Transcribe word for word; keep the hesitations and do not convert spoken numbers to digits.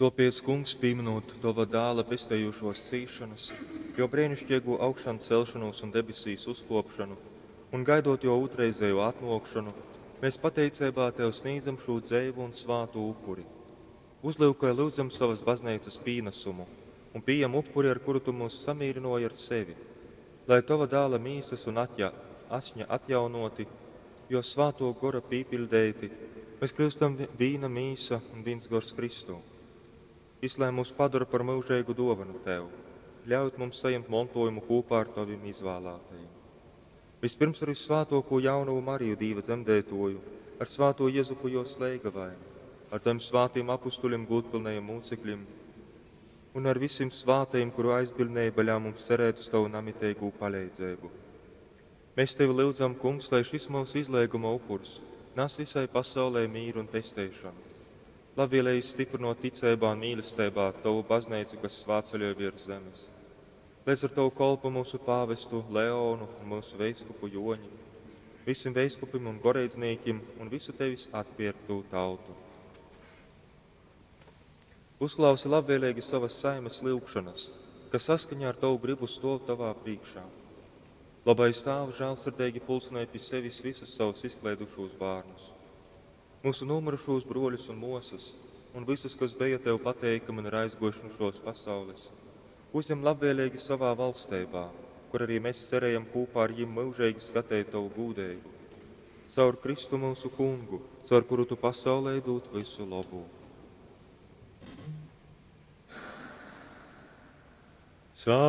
Tōpēc, Kungs, pīminūt Tova dāla pestejūšos cīšanas, jo breiniškeigū augšancelšanos un debesīs uzkōpšanu, un gaidot jo ūtrreizējo atnōkšanu, mēs pateiceibā Tev snīdzam šū dzeivu un svātu upuri. Uzlyukoj, lyudzam, sovas bazneicas pīnasumu un pījem upuri, ar kuru Tu myus samīrynōji ar sevi, lai Tova dāla mīsas un atja, asņa atjaunōti, jo svātō gora pīpiļdeiti, mēs kļūstam vīna mīsa un vīns gors Kristū. Jys lai mūs padara par myužeigu dōvanu Tev, ļaujot mums sajimt montojumu kūpā ar Tovim izvālātajim. Vispirms ar vissvātōko jaunavu Mariju Dīva dzemdētoju, ar svāto Jezupu jos leigavaini, ar Tavim svātim apustuļim gūdpilnajiem mūcekļim un ar visim svātajim, kuru aizbiļdneiba ļauj mums cerēt uz Tavu namiteigū paleidzeibu. Mēs Tevi lyudzam, Kungs, lai šis mūsu izleiguma upurs nes visai pasaulē mīru un pesteišanu. Labvēlīgi stiprinot ticeibā un mīlestībā Tavu baznīcu, kas svātceļoj virs zemes. Līdz ar Tavu kolpu mūsu pāvestu Leonu un mūsu veiskupu Joņi, visiem veiskupim un goreidzniekiem un visu Tevis atpirktu tautu. Uzklausi labvēlīgi savas saimes lyugšanas, kas saskaņā ar Tavu gribu stov Tavā priekšā. Labais Tēvs žēlsirdīgi pulcinēja pie sevis visus savus izklaidušos bērnus, mūsu nomirušos broļus un mosas, un visus, kas bija Tev pateikami un ir aizgojuši no šos pasaules, uzņem labvēlīgi savā valstībā, kur arī mēs cerējam kopā ar viņiem mūžīgi skatīt Tavu gūdību. Caur Kristu mūsu kungu, caur kuru Tu pasaulē dod visu labu. Caur